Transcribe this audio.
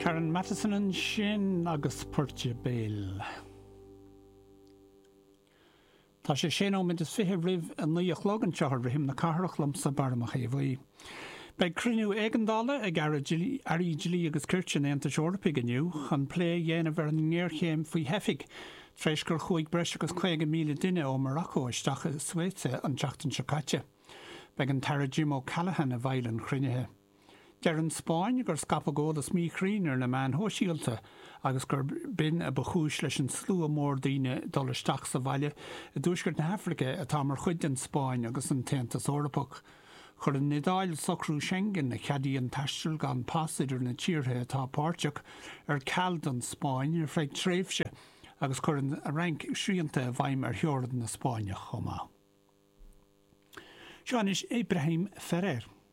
Karen Matheson ansin agus Poirt Béil. Tá sé sé nóiméad is fiche roimh a 9 a chlog anseo ar Rithim na Cathrach liomsa Barra Mac Aodha Bhuí. Beidh cruinniú éigeandála ag Airí Dlí agus Cirt an Aontais Eorpaigh inniu chun plé a dhéanamh ar an ngéarchéim faoi theifigh tar éis gur chuaigh breis agus 50,000 duine ó Morocco isteach i Ceuta an tseachtain seo caite. Beidh an tAire Jim O'Callaghan i bhfeighil an chruinnithe. Deir an Spáinn gur scaipeadh eolas míchruinn ar na meáin shóisialta agus gur b'in a ba chúis leis an slua mór daoine dul isteach sa bhaile i dtuaisceart na hAfraice atá mar chuid den Spáinn agus an tAontas Eorpach. Chuir an Iodáil socrú Schengen, a cheadaíonn taisteal gan pas idir na tíortha atá páirteach, ar ceal don Spáinn ar feadh tréimhse agus chuir an Fhrainc srianta i bhfeidhm ar theorainn na Spáinne chomh maith. Seo anois Ibrahim Ferrer.